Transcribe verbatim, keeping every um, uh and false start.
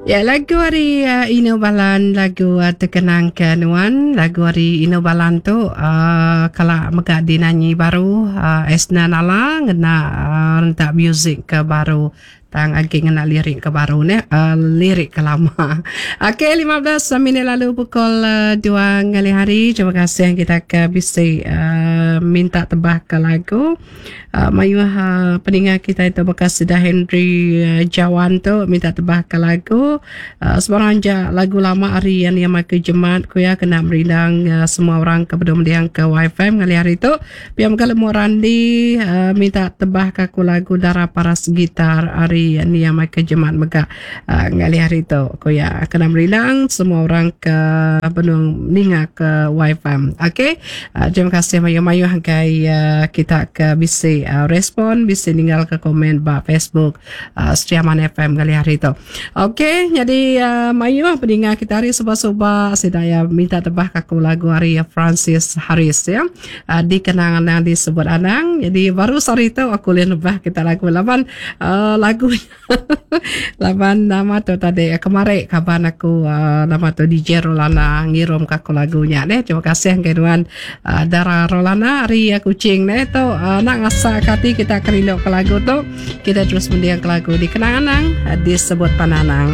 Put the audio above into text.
Ya, lagu ari uh, Ino Balan, lagu uh, terkenang ke nuan. Lagu ari Ino Balan tu uh, kala mega dinanyi baru uh, Esna Nala ngena uh, rentak music ke baru tang agi ngena lirik ke baru ne uh, lirik ke lama. Okey, lima belas minit lalu pukul uh, dua ngalih hari. Terima kasih kita ke bisi uh, minta tebah ke lagu. Uh, mayuh uh, peninga kita itu bekas sudah Henry uh, Jawan tu minta tebah ke lagu. Uh, sebarang ja lagu lama ari yang yang Michael Jemat ku ya kena merindang uh, semua orang ke bedung mendiang ke Wi-Fi ngalih hari tu. Pia mega Lemu Randi uh, minta tebah ke aku lagu Dara Paras Gitar ari Nia Michael Jemat mega uh, ngalih hari tu ku ya kena merindang semua orang ke benung ninga ke Wi-Fi. Okey, uh, terima kasih mayu-mayu hanggai uh, kita ke bisi uh, respon, bisi ninggal ke komen ba Facebook uh, Sri Aman F M ngalih hari tu. Okey, jadi uh, mayu peninga kita hari suba-suba sedaya minta tebah ke aku lagu hari Francis Harris ya. Uh, dikenang anang disebut anang. Jadi baru sehari tu aku lihat lebah kita lagu laban uh, lagu laban nama tu tadi kemarin kaban aku uh, nama tu D J Rolana ngirum ke aku lagunya deh. Terima kasih ke tuan uh, Dara Rolana hari uh, kucing deh tu uh, nak ngasak hati kita kerindu ke lagu tu. Kita terus mendiang ke lagu dikenang anang uh, disebut pananang.